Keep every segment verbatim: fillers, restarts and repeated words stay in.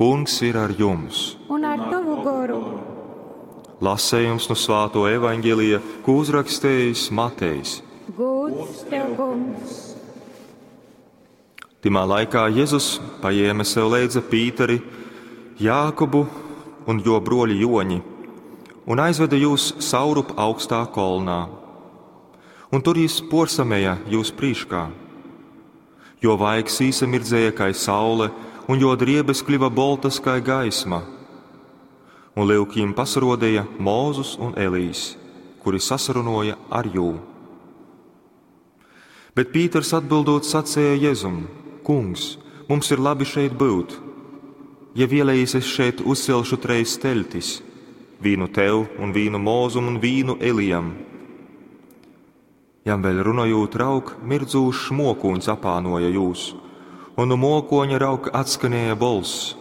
Kungs ir ar jums! Un ar tavu goru. Lasējums no Svāto evaņģelija, ko uzrakstījis Matejs. Gūds tev, kungs! Timā laikā Jēzus paņēma sev leidza Pīteri, Jākobu un jo broļi Joņi un aizveda jūs saurup augstā kolnā. Un tur jis porsameja jūs prīškā. Jo vaigs īsamirdzēja kai saule, un jo driebes kļuva boltas kai gaisma. Un lyuk jim pasarodīja Mūzus un Elīs, kuri sasarunoja ar jū. Bet Pīters atbildot sacēja Jēzum: Kungs, mums ir labi šeit būt. Ja vēlējies, es šeit uzcelšu treis teltis – vīnu tev un vīnu Mūzum un vīnu Elijam. Jam vēl runājot, raug, mirdzūšs mokūņs apānoja jūs, un no mokoņa raug atskanēja bolss.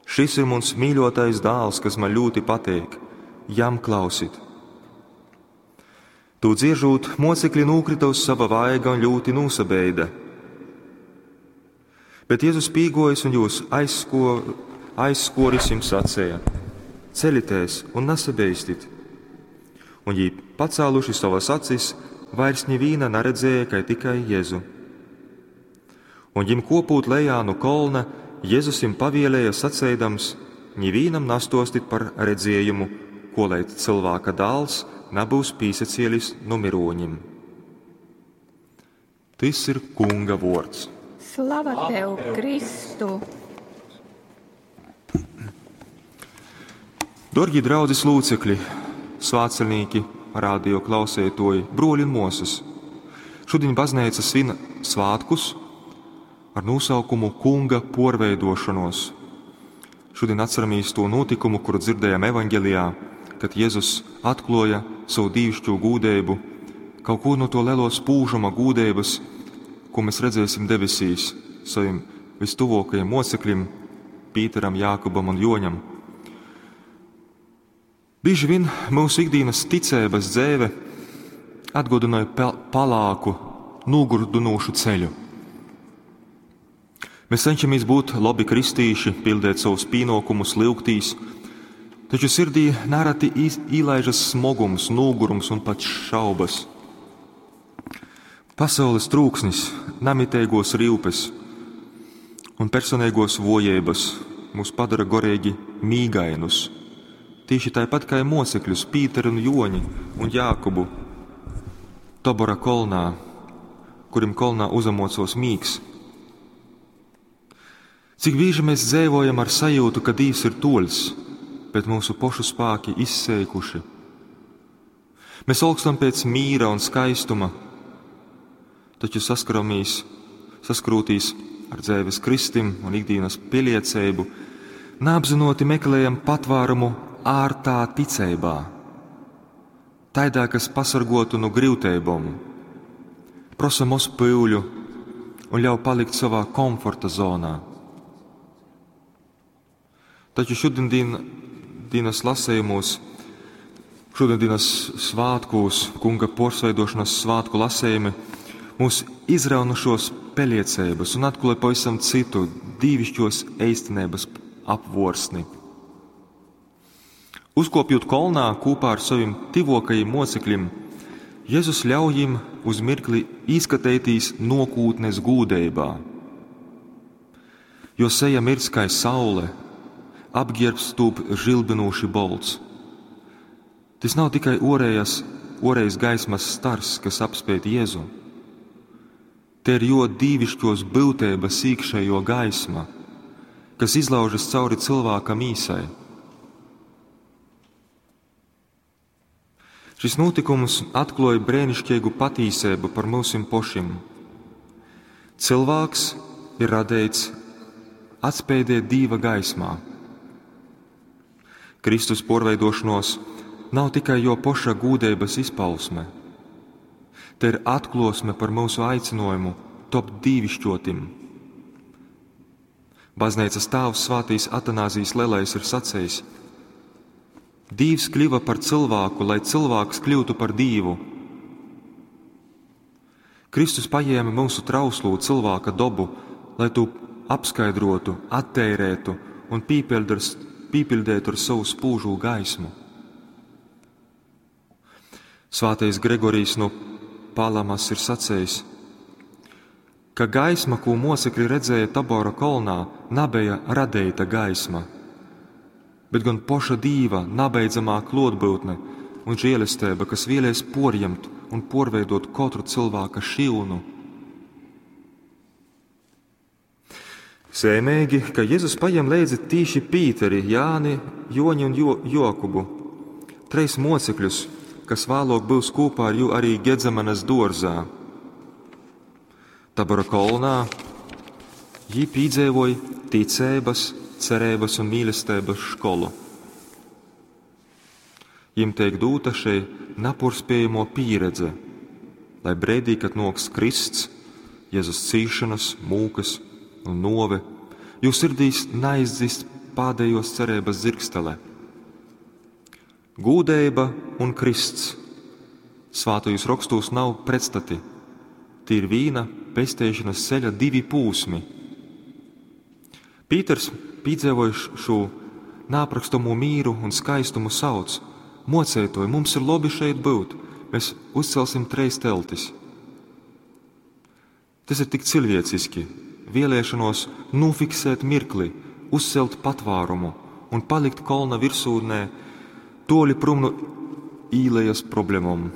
Šis ir mans mīļotais dāls, kas man ļoti patīk, jam klausit. Tū dziežūt, mocekļi nūkrita uz sava vaiga un ļoti nūsabeida. Bet Jēzus pīgojas un jūs aizsko, aizskoris jums sacēja: Ceļieties un nesabeistit. Un jī pacēluši savas acis, vairs ņivīna naredzēja, kai tikai Jēzu. Un jim kopūt lejā no kolna, Jēzus jim pavielēja sacēdams: Ņivīnam nastostit par redzējumu, ko lai cilvēka dāls nabūs pīsacielis no miroņim. Tis ir Kunga vords. Slava tev, Kristu! Dorgi draudzes lūcekļi, svātceļnieki, radio klausētoji, broļi un mosas. Šodien baznīca svin svātkus ar nosaukumu Kunga porveidošanos. Šodien atceramies to notikumu, kuru dzirdējām evaņģelijā, kad Jēzus atkloja savu dīvišķo gūdeibu, kaut ko no to lielo spūžuma gūdeibas, ko mēs redzēsim debesīs saviem vistuvākajiem mocekļiem, Pīteram, Jākubam un Joņam. Bieži vien mūsu ikdienas ticības dzēve atgodināja palāku, nogurdunošu ceļu. Mēs cenšamies būt labi kristīši, pildēt savus pienākumus, lūgtīs, taču sirdī nereti īlaižas smogums, nogurums un pat šaubas. Pasaules trūksnis, namitīgos rīpes un personīgos vojības mūs padara gorīgi mīgainus. Tieši tāpat kā mocekļus Pīteru un Joņi un Jākubu Tobora kolnā, kurim kolnā uzamocos mīgs. Cik bieži mēs dzīvojam ar sajūtu, ka Dievs ir toļs, bet mūsu pošu spēki izseikuši. Mēs olkstam pēc mīra un skaistuma, taču saskaramies, saskrūtīs ar dzēves kristim un ikdienas pieliecību, neapzinoti meklējam patvērumu ārtā ticībā, taidā, kas pasargotu no grūtībām, prosa mūs pūļu un ļauj palikt savā komforta zonā. Taču šodienas lasējumos, šodienas svātkos, kunga porsveidošanas svātku lasējumi mūs izrauna šos peliecības un atklāja pavisam citu dīvišķos eistenības apvorsni. Uzkopjot kolnā kopā ar saviem tivokajiem mocekļiem, Jēzus ļauj jim uz mirkli izskatīties nokūtnes gūdeibā. Jo seja mirdz kā saule, apģērbs tūp žilbinoši bolts. Tas nav tikai orējas, orējas gaismas stars, kas apspēj Jēzu. Te ir jo dīvišķos būtības iekšējo gaisma, kas izlaužas cauri cilvēka mīsai. Šis notikums atklāja brēnišķīgu patīsību par mūsim pošim. Cilvēks ir radīts atspēdēt Dieva gaismā. Kristus porveidošanos nav tikai jo poša gūdeibas izpausme. Te ir atklosme par mūsu aicinājumu topt dīvišķotim. Baznīcas tēvs Svētīs Atanāzijas Lielais ir sacījis: Dīvs kļuva par cilvēku, lai cilvēks kļūtu par dīvu. Kristus paņēma mūsu trauslo cilvēka dobu, lai tu apskaidrotu, atteirētu un pīpiļdētu ar savu spūžū gaismu. Svātais Gregorijs no Palamas ir sacējis, ka gaisma, ko mocekļi redzēja Tabora kolnā, nabeja radeita gaisma, bet gan poša Dīva nabeidzamā klotbūtne un žēlestība, kas vēlies porņemt un porveidot katru cilvēka šilnu. Sēmīgi, ka Jēzus paņem līdzi tīši Pīteri, Jāni, Joņi un jo Jokubu, treis mocekļus, kas vēlāk būs kopā ar jū arī Gedzemanas dārzā. Tabora kolnā jī pīdzēvoja ticības, cerības un mīlestības skolu. Jim tiek dūta šī naporspējamo pieredze, lai brīdī, kad noks Krists, Jēzus cīšanas, mūkas un nove, jūs sirdīs neizdzist pādējos cerības zirgstele. Gūdeiba un Krists svātajos rakstos nav pretstati. Tī ir vīna pesteišanas ceļa divi pūsmi. Pīters, pīdzēvojuši šo nāprakstamo mīru un skaistumu sauc: Mocētoji, mums ir labi šeit būt, mēs uzcelsim treis teltis. Tas ir tik cilvēciski, vēlēšanos nofiksēt mirkli, uzcelt patvārumu un palikt kolna virsūnē, toļi prom no īlejas problēmām.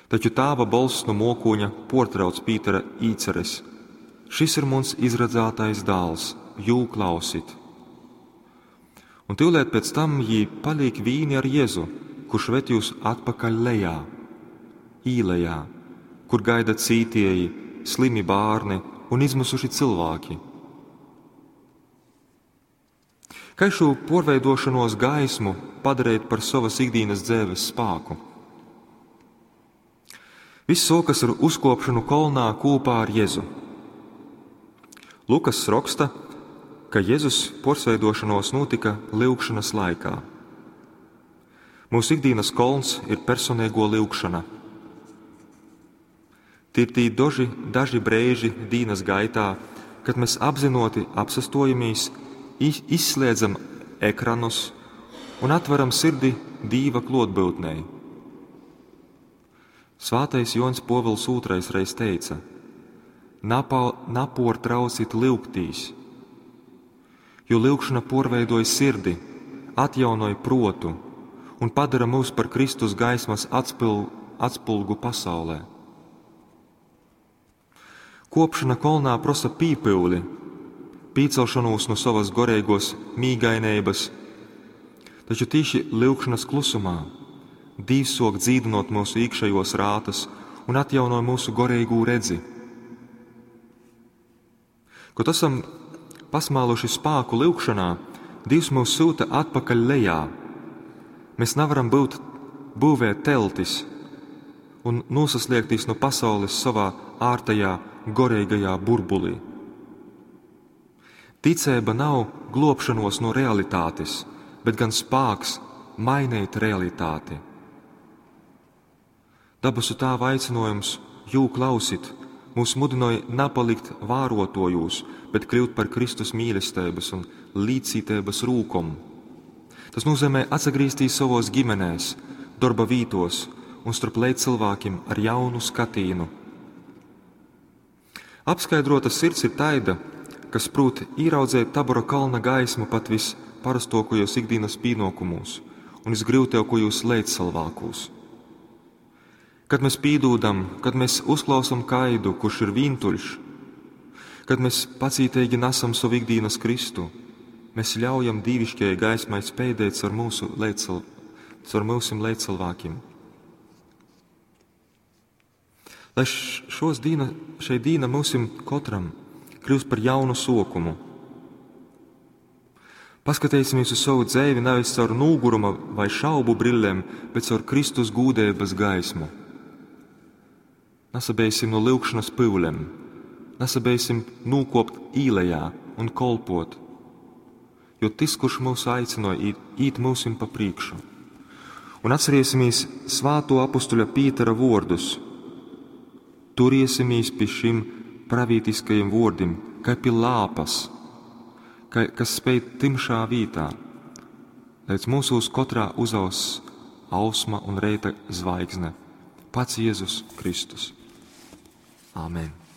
Taču tāva balss no mokoņa portrauc Pītera īceres. Šis ir mums izredzētais dāls, jū klausit. Un tīvlēt pēc tam jī paliek vīni ar Jēzu, kurš ved jūs atpakaļ lejā, īlejā, kur gaida cītieji, slimi bārni un izmisuši cilvēki. Kā šo porveidošanos gaismu padarīt par savas ikdienas dzīves spāku? Viss sokas ar uzkopšanu kolnā kopā ar Jēzu. Lukas raksta, ka Jēzus porsveidošanos notika lyugšanas laikā. Mūsu ikdienas kolns ir personīgo lyugšana. Tie ir tī daži, daži brīži dīnas gaitā, kad mēs apzinoti apsastojamies, izslēdzam ekranus un atveram sirdi Dīva klotbūtnei. Svātais Jons Povils otrais reiz teica: Napa, naportraucit lyugtīs, jo lyugšana porveidoja sirdi, atjaunoja protu un padara mūs par Kristus gaismas atspil, atspulgu pasaulē. Kopšana kolnā prosa pīpūli, pīcelšanos no savas goreigos mīgainības, taču tīši lyugšanas klusumā Dīvs sok dzīdinot mūsu iekšējos rātas un atjaunoja mūsu goreigū redzi. Kad esam pasmāluši spāku lyugšanā, Dievs mūs sūta atpakaļ lejā. Mēs nevaram būt būvēt teltis un nosasliekties no pasaules savā ārtajā goreigajā burbulī. Ticība nav globšanos no realitātes, bet gan spāks mainīt realitāti. Dabasu Tāva aicinājums jū klausit, mūs mudināja napalikt vārotojūs, bet kļūt par Kristus mīlestības un līdzcītības rūkom. Tas nozīmē atsagrīztīs savos ģimenēs, darba vītos un starp līdzcilvēkiem ar jaunu skatīnu. Apskaidrota sirds ir taida, kas prūt ieraudzēt Tabora kalna gaismu pat visparastokajos ikdienas pienākumos un visgrūtākajos līdzcilvēkos. Kad mēs pīdūdam, kad mēs uzklausam kaidu, kurš ir vīntuļš, kad mēs pacītīgi nesam savu ikdienas Kristu, mēs ļaujam dīvišķajai gaismai spēdēt caur mūsu līdzcil, caur mūsim līdzcilvēkiem. Lai šos dīna, šai dīna mūsim katram kļūst par jaunu sokumu. Paskatīsimies uz savu dzīvi nevis caur nūguruma vai šaubu brillēm, bet caur Kristus gūdības gaismu. Nesabeisim no lyugšanas pyulem, nesabeisim nūkopt īlejā un kolpot, jo tas, kurš mūs aicināja, īt, īt mūsim pa priekšu. Un atcerēsimies svāto apustuļa Pītera vārdus: Turiesimies pie šim pravītiskajim vuordim, kai pi lāpas, kai, kas speid tymšā vītā, leidz mūsūs kotrā uzauss ausma un reita zvaigzne, pats Jēzus Kristus. Āmen.